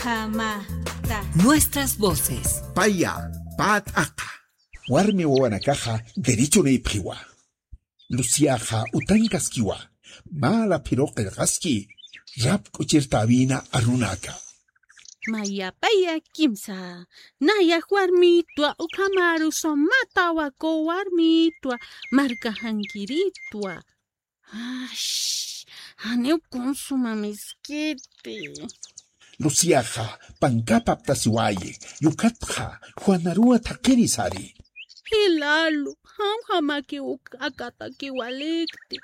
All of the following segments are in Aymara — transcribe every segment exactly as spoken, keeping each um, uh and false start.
Amata. Nuestras voces. Paya, pä t'aqa. Warmi wawanakaxa derechonïpxiwa. Luciaxa utankaskiwa. Mä raphiru qillqaski. Rap k'uchirtäwina arunaka. Mayapaya kimsa. Nayax warmitwa ukhamaru sumatawaku warmitwa. Markaxankiritwa. Ash, janiw kunsuma miskiti. Luciaxa pankapaptasiwayi, yukatxa Juanaruwa thaqhiri sari. Jilalu, jamjamakiw uk akataki walikti.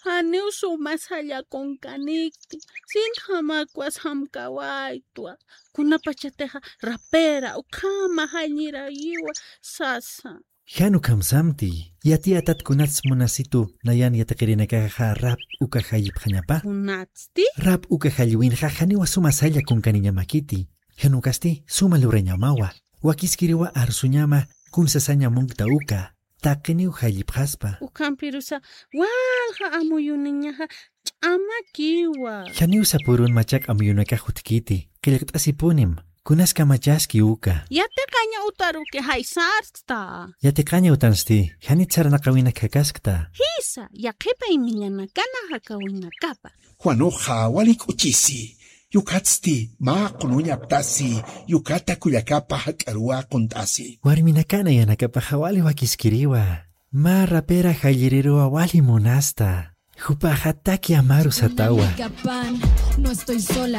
Janiw suma sallakunkanikti. Sintjamakwas jamkawaytwa. Kunapachatixa rapera ukhama jallirayiwa sasa. Jan ukhamsamti, yatiyatat kunats munasitu nayan yatiqirinakaxa rap uka jallipxañapa? Kunatsti? Rap uka jalliwinxa janiwa suma salla kunkaniñamakiti. Jan ukasti suma lurañamawa. Wakiskiriwa arsuñama kunsasaña munkta uka. Taqiniw jallipxaspa. Ukhampirusa walja amuyuniñaxa ch'amakiwa. Janiw sapürun machaq amuyunakax utjkiti, qillqt'asipunim, kunas kamachaski uka. Yatiqaña utaruki jaysarkta. Yatiqaña utansti, janit sarnaqawinak jakaskta. Jisa, yaqhipañ millanakana jakawinakapa. Juanuxa wali k'uchisi, yukatsti mä qunuñaptasi, yukata kullakapa jak'aruwa qunt'asi. Warminakana yanakapaxa wali wakiskiriwa, mä rapera jalliriruwa wali munasta. Jupaxa taki amaru satawa.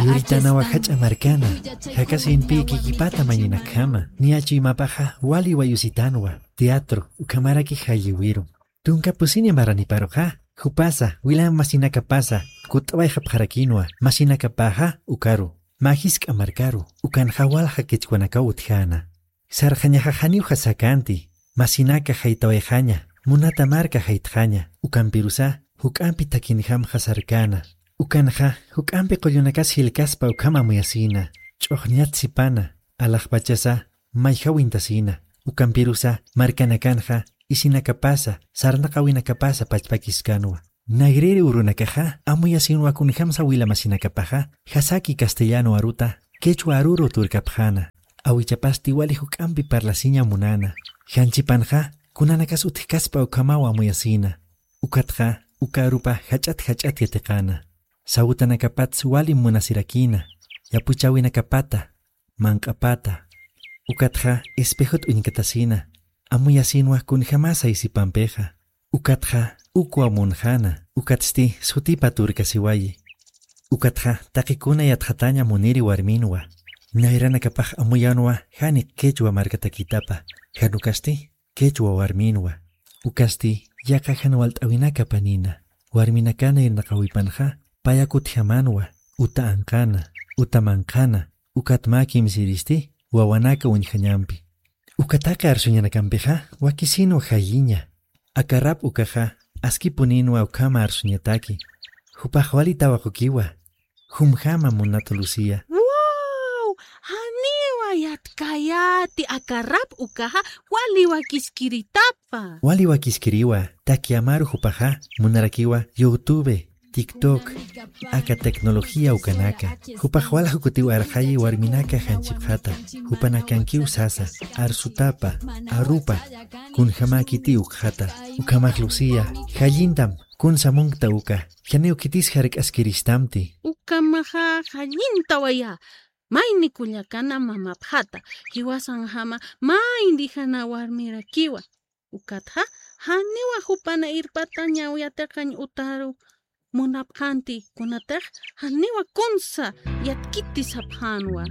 Yuritanawa jach'a markana, jakasinpï kikipata mañinakjama, niya chuymapaxa wali wayusitanwa, teatro, ukhamaraki jalliwiru. Tunka pusiña maraniparuxa, jupasa, wilam masinakapasa, kutt'awayxapxarakinwa, masinakapaxa, ukaru, mä jisk'a markaru, ukanxa walja qhichwanakaw utjäna. Sarxañaxa janiw jasakanti, masinaka jaytawayxaña, munata marka jaytxaña, ukampirusa, juk'ampi takinjam jasarkana. Ukanxa, juk'ampi qullunakas jilkaspa ukham amuyasina, ch'uxñat sipana, alaxpachasa, mayjawintasina, ukampirusa, markanakanxa, isinakapasa, sarnaqawinakapasa pachpakiskanwa. Nayrïri urunakaxa, amuyasinwa kunjamsa wila masinakapaxa, jasaki castellano aruta, quechua aruru turkapxäna. Awichapasti wali juk'ampi parlasiña munäna. Janchipanxa, kunanakas utjkaspa ukhamaw amuyasina. Ukatxa, uka arupa jach'at jach'at yatiqäna. Sawtanakapats wali munasirakïna. Yapuchäwinakapata, manq'apata. Ukatxa espejot uñkatasina, amuyasinwa kunjamasa isipampixa. Ukatxa ukwa munxäna, ukatsti sutipa turkasiwayi. Ukatxa taqikuna yatxataña muniri warminwa. Nayranakapax amuyänwa jani quechua markatakitapa, jan ukasti quechua warminwa. Ukasti yaqha jan walt'äwinaka panina, warminakana irnaqawipanxa, paya kutjamänwa, uta anqäna, uta manqhäna, ukat mä kimsïristi, wawanaka uñjañampi. Uka taqi arsuñanakampixa, wakisinwa jalliña. Aka rap ukaxa, askipunïnwa ukhama arsuñataki. Jupax wali tawaqukiwa. Jumjama munat Lucía. ¡Wow! Janiwa yatkayäti aka rap ukaxa wali wakiskiritapa. Wali wakiskiriwa, taki amaru jupaxa, munarakiwa YouTube, TikTok, aka tecnología ukanaka. Jupax walja kutiw arxayi warminaka janchipxata, jupanakankiw sasa, arsutapa, arupa, kunjamäkiti ukxata. Ukhamax Lucía, jallintam, kunsa munkta uka, janiw khitis jark'askiristamti. Ukhamaxa jallintawayä, mayni kullakana mamapxata, jiwasanjama, mayni jana warmirakiwa. Ukatxa, janiwa jupana irpatañaw yatiqañ utaru munapxänti, kunatix janiwa kunsa yatkiti sapxänwa.